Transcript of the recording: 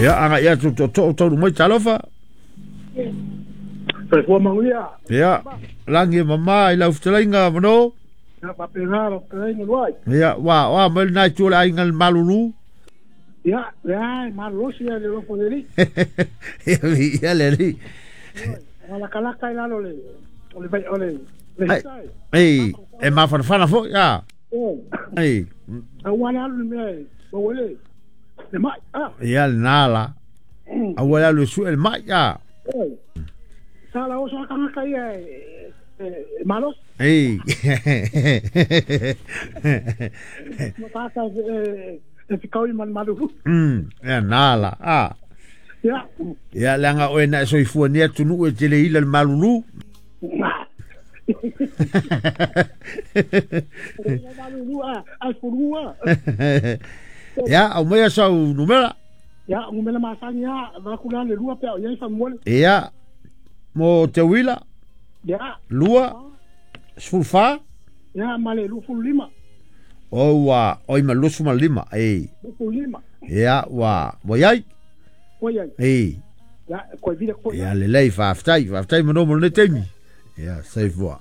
Ia agai atu tootoo taunuu mai talofa. Soifua manuia. Ia, lagi e mamā i lau fetalaiga Mano. Ia faapena lau fetalaiga Luai. Ia, ua oa mai lena itu o le aiga i le malulu. Ia, lea e malolosi le alofa o le Alii. Ia, viia le Alii. Ua lakalaka i lalo o le o le vai o le le hita e. Ei, e mafanafana foi a. Ei. Aua le alu i le mea e maua ai le le mai a. Ia lena la. Aua le alu e sue le mai a. Sa la oso a tagata ia e e malosi. Ei. Ma tagata e e fekaui ma le malulu. Ia na la a. Ia. Ia leaga oe na e soifua nei atunuu e te le ila le malulu. Malulu a, ai fulu a. Ia, aumaia sau numera. Ia, numera masani a, vaku la le lua pe au iai faamolemole. Ia, mo te uila. Ia. 2, 14. Ia, ma le 25. O ua, oi ma 25, ei. 25. Ia, ua, ua iai. Ua iai. Ei. Ia, koe vila koe. Ia, lelei, faafetai, faafetai mano mo lenei taimi. Ia, soifua.